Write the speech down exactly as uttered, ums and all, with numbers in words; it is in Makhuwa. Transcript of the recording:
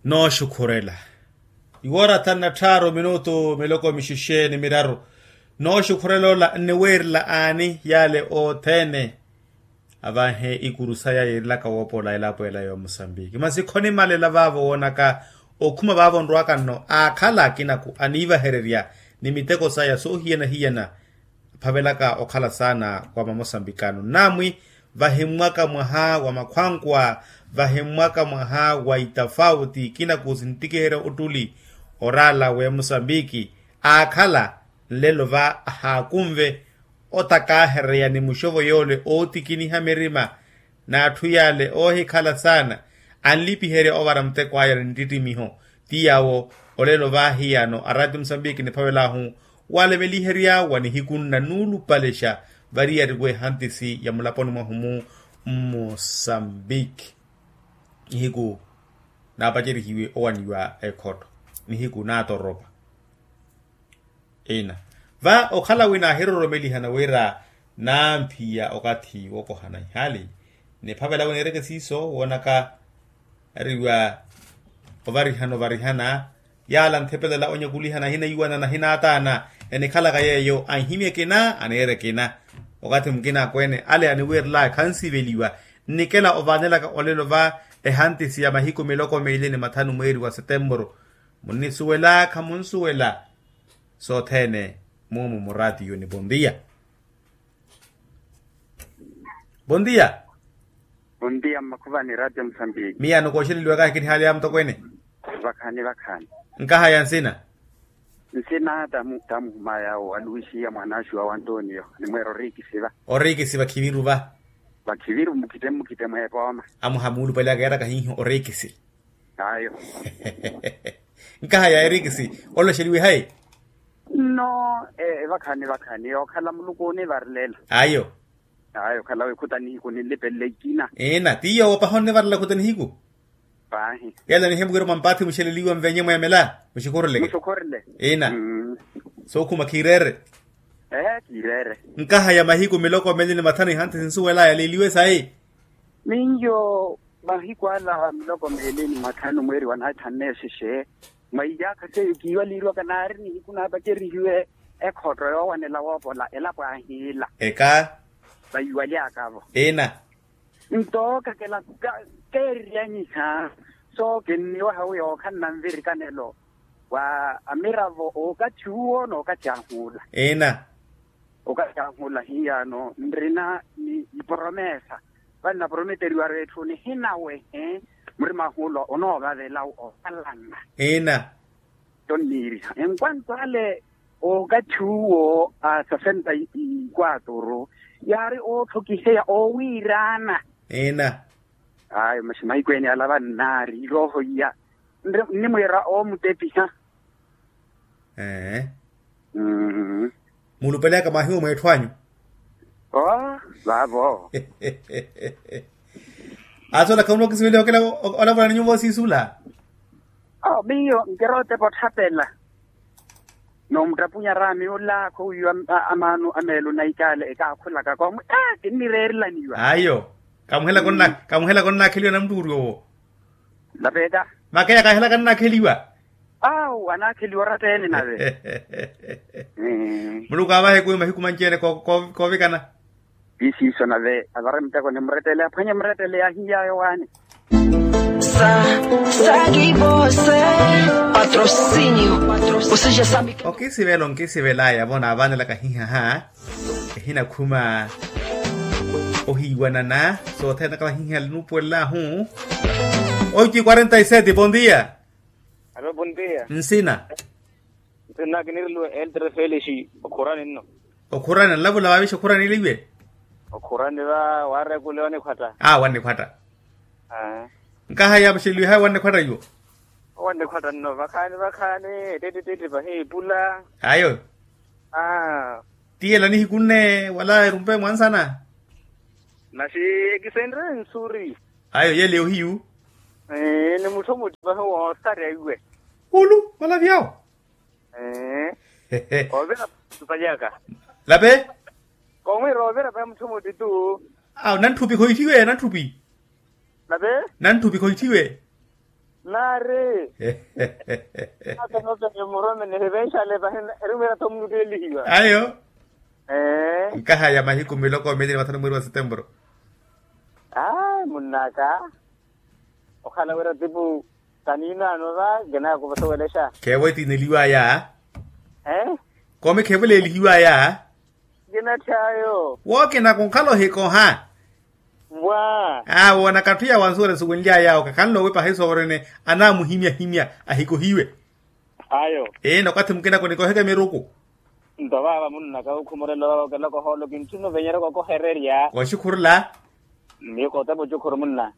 Nooxukhurela. Iwoora thanu na tthaaru minutu miloko mixexe ni miraru. Nooxukhurela ola nniweerela aani yaale othene? Avanhe ikuru saya yiirilaka woopola elapo ela ya omusambiki masi khonimalela vaavo woonaka okhuma vaavo nrwaka nno aakhala akinaku aniivahererya ni miteko saya soohiyana-hiyana. Aphavelaka okhala saana wa mamosambikano namwi vahimmwaka mwaha wa makhwankwa vahimmwaka mwaha wa itafauti ikinaku sinttikiherya ottuli oraala w'emosambiki aakhala nlelo va ahaakunve otakaahereya ni muxovo yoole ootikiniha mirima n'atthu yaale oohikhala saana anlipiherya ovara muteko aya ni nttittimiho. Ti yaawo olelo va hiyano araati musambiki niphavel'ahu waleveliherya wa nihiku nna nuulupalexa variyari w'ehantisi ya mulaponi mwahu-mu mmusambiki nihiku naapacerihiwe owaniwa ekhotto nihiku naatoropa. Ina va okhala wina ahiroromelihana wira namphiya okathi wokohana ihali niphavela wina ereke siiso woonaka ariwa ovarihana ovarihana yaala ntthepelela onyakulihana ahinaiwanana ahinaataana enikhalaka yeeyo anhimya ekina aneera ekina. Okathi mukina akweene ale aniwiirelaya khansiveliwa nnikela ovaanelaka olelo va ehantisi ya mahiku miloko meili ni mathanu mweeri wa setempuru munnisuwela khamunsuwela sothene. Mumu muraatiyuni bondia. Bondia. Bondia mmakhuvani raati ya musambiki. Miyano kooxeleliwaka ahikinihaale ya mutokweene. Vakhani vakhani. Nkahaya nsina. Nsina tamuhuma yawo aluwixiya mwanaaxuwa wa antonio nimweera oriikisi va. Oriikisi vakhiviru va. Vakhiviru mukhitte mukhitte mweepooma. Amuha muulupale aka yaaraka hiihi oriikisi. Ayo. Nkahaya erikisi oloxeliwe hayi? Nno evakhani vakhani okhala muluku onivarelela. Ayo. Ayo okhala wikhuta nihiku ninlipelele ikina. Ina ti yoowo paha onnivarela khuta nihiku. Paahi. Yala nihemukira mwampaathi muxeleliwa nvenye mweemela muxikhuruleke. Muxikhurule. Ina. Sookhuma khiireere. Ehe kiireere. Nkahaya mahiku miloko meli ni mathanu ihanthi sinsuwelaya liiliwe sayi. Minyo mahiku ala miloko meeli ni mathanu mweeri wa naithanne exexe mwa iyaakha seiyo kiiwaliiriwaka naari nihiku naapacerihiwe ekhotto yoowanela woopola elapo ahiila. Eka. Vaiwalyakavo. Ina. Nto kakela keeriryanyiha sookinniwaha wi yookhanna nvirikanelo wa amiravo ookathi uwo nookathi ahuula. Ina. Okathi ahuula hiyano nrina ni iporomesa vale naporometeriwaru etthu nihinawehe murima ahuula onoovavela okhalana. Ina. Tonniiriha enquanto ale okathi uwo a sesenta ikwaturu yaari ootthokiheya oowiiraana. Ina. Ayo masi mahiku ene ala vannaari erooho iya nnimwiira oomutepiha. Ee. Muulupeleyaka mwahiwo mweetthu anyu. Oo vaavo. Aasi ola khamunokisiveliha okela olavula ni nyuwo siisula. Oo miyo nkira otepa otthapela. Noomuttapunya raami ola khowiiwa amaano a meelo na ikaale ekaakhulaka koomwe ee kinnireerelaniwa. Ayo. Kamuhelaka onnaakheliwa na muttuuri owo. Napeeta. Makeya kaahela kannaakheliwa. Awu anaakheliwa oratta ene nave. Muluku aavahe kumi mahiku manci-ene koovikana. Ti siiso nave avare muteko nimurettele aphwanye murettele yaahiyayo waani. Sa saki vose patrocinio. Okisivela onkisivelaya vo naavaanelaka hihaha. Ehinakhuma ohiiwanana sothene naka vahihiha linuupuwellahu. Oici quarenta y sete bon dia. Alo bon dia. Nsina. Nsina kiniriluwe eltre felixi okhurani nno. Okhurani nlavula vaavixa okhurani eliwe. Okhurani va waarekule wanikhwatta. Aa wannikhwatta. Nkahaya vaxeliwe haya wannikhwatta iwo. Wannikhwatta nno vakhaani vakhaani ettetti ttetti pahi epula. Ayo. Aa. Ti ela nihiku nne wala erumpe mwansana. Masi ekisenre nsuri. Ayo yele ohiyu. Ni mutthu mutti pahi woosarya iwe. Ulu wala vyawo. Ovira palyaka. Lape. Komwira ovira pahi mutthu mutti tu. Awo nantthupi khoitthiwe nantthupi. Lape. Nantthupi khoitthiwe. Naari. Aka nootene muromene hivenxale pahi. Erumeera tho munutteelihiwa ayo. Ee. Nkahaya mahiku miloko mili ni mathanu mweri wa setempuru. Ayi munn'aka. Okhala wira tipu kaniinaano va. Kinakuvosowelexa. Kheewe tiineliwaya. Ee. Kome kheewe leelihiwaya. Kinatthyayo. Wookina kunkhala ohikoha. Mwa. Aa woonaka atthu ya wansuwela esuwenly'aya awo kakhanle owepa ahiso orene. Anaamuhimyahimya ahikohiwe. Ayo. Ee nokwathi mukinako nikoheke miruku. Nto vaava munnaka okhumorela ovaava okelaka ohoolo kintthuna ovenyerya kokohererya. Oxukhurula. Miyo kootepa oxukhuru munna.